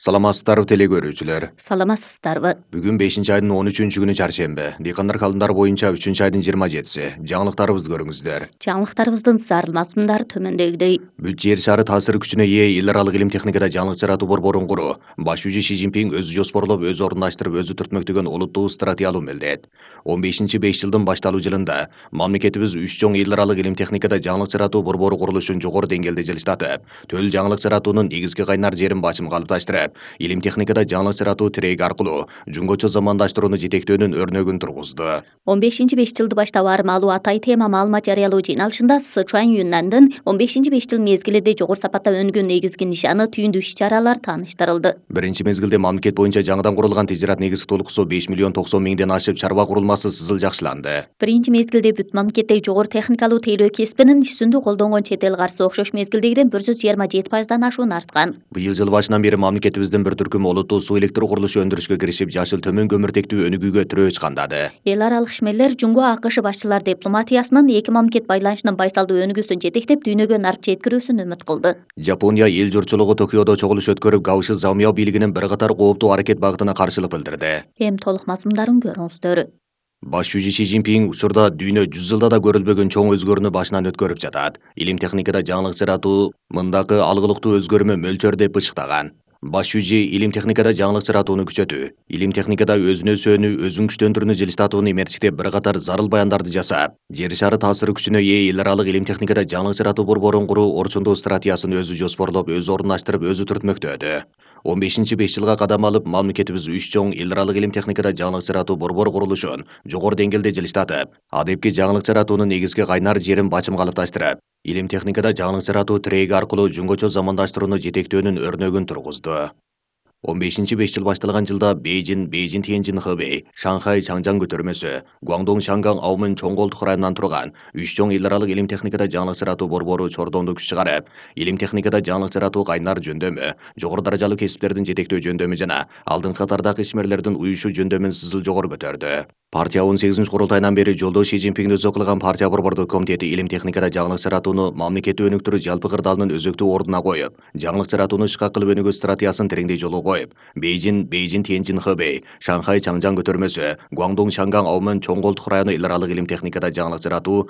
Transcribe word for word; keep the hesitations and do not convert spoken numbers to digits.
Саламатсыздарбы теле көрүүчүлөр. Саламатсыздарбы. Бүгүн бешинчи айдын он үчүнчү күнү чаршемби. Дыйкандар калымдары боюнча үчүнчү айдын жыйырма жетиси. Жаңылыктарыбызды көрүңүздөр. Жаңылыктарыбыздын зарыл мазмундары төмөндөгүдөй. Бүт жер шары таасир күчүнө ээ эл аралык илим техникада жаңылык жаратуу борборун куруу. Баш жүзү Си Цзиньпин өзү жоспорлоп, өзү орундаштырып, өзү түртмөктөгөн олуттуу стратегиялуу мелдет. он бешинчи беш жылдын башталуу жылында мамлекетибиз үч чоң эл аралык илим техникада жаңылык жаратуу борбору курулушун жогору деңгээлде жылыштатып, төл жаңылык жаратуунун негизги кайнар жерин бачым калыпташтырып, илим техникада жаңылык жаратуу тиреги аркылуу жөнгөчө замандаштырууну жетектөөнүн өрнөгүн тургузду. он бешинчи беш жылды баштап аармалуу атай тема маалымат жарыялоо жыйналышында Сычуань Юннандын он бешинчи беш жыл мезгилинде жогору сапатта өнүгөн негизги нишаны, түйүндүү иш-чаралар тааныштырылды. Биринчи мезгилде мамлекет боюнча жаңыдан курулган тижират негизги толукусу беш миллион токсон миңден ашып, чарба курулмасы сызыл жакшыланды. Биринчи мезгилде бүт мамлекеттеги жогору техникалуу тейлөө кесибинин ишсүндү колдонгон чет эл каржысы окшош мезгилдегиден бир жүз жыйырма жети пайыздан ашуун арткан. Быйыл жыл башынан бери мамлекетибиздин бир түркүм олуттуу суу электр курулушу өндүрүшкө киришип, жашыл төмөн көмүртектүү өнүгүүгө тирөө чыкандады. Эл аралык ишмерлер Жумго АКШ башчылар дипломатиясынын эки мамлекет байланышынын байсалдуу өнүгүүсүн жетектеп, дүйнөгө нарып жеткирүүсүн үмүт кылды. Жапония эл журтчулугу Токиодо чогулуш өткөрүп, Кабыши Замио бийлигинин бир катар кооптуу аракет багытына каршылык билдирди. Эми толук мазмундарын көрүңүздөр. Баш жүзү Си Цзиньпин учурда дүйнө жүз жылда да көрүлбөгөн чоң өзгөрүүнү башынан өткөрүп жатат. Илим техникада жаңылык жаратуу мындагы алгылыктуу өзгөрмө мөлчөр деп ычыктаган. Баш жүзү илим техникада жаңылык жаратууну күчөтүү, илим техникада өзүнө сөөнүү, өзүн күчтөндүрүүнү жылыштатууну эмерчиктеп бир катар зарыл баяндарды жасап, жер шары таасир күчүнө ээ эл аралык илим техникада жаңылык жаратуу борборун куруу орчундуу стратегиясын өзү жоспорлоп, өзү орундаштырып, өзү түртмөктөдү. он бешинчи беш жылга кадам алып, мамлекетибиз үч чоң эл аралык илим техникада жаңылык жаратуу борбору курулушун жогору деңгээлде жылыштатып, адепки жаңылык жаратуунун негизги кайнар жерин бачым калыпташтырып, илим техникада жаңылык жаратуу тиреги аркылуу жөнгөчө замандаштырууну жетектөөнүн өрнөгүн тургузду. он бешинчи беш жыл башталган жылда Бейжин, Бейжин Тяньжин Хэбэй, Шанхай Чаңжаң көтөрмөсү, Гуандong Шанган Аумын чоң колдук районунан турган үч чоң эл аралык илим техникада жаңылык жаратуу борбору чордондуу күч чыгарып, илим техникада жаңылык жаратуу кайнар жөндөмү, жогору даражалуу кесиптердин жетектөө жөндөмү жана алдыңкы катардагы ишмерлердин уюшу жөндөмүн сызыл жогору көтөрдү. Партия он сегизинчи курултайынан бери жолдо Си Цзиньпин өзү кылган партия борбордук комитети илим техникада жаңылык жаратууну мамлекетти өнүктүрүү жалпы кырдаалынын өзөктүү ордуна коюп, жаңылык жаратууну ишке кылып өнүгүү стратегиясын тереңдей жолго коюп, Бейжин, Бейжин Тяньжин Хэбэй, Шанхай Чаңжаң көтөрмөсү, Гуандong Шанган Аумын чоң колдук району эл аралык илим техникада жаңылык жаратуу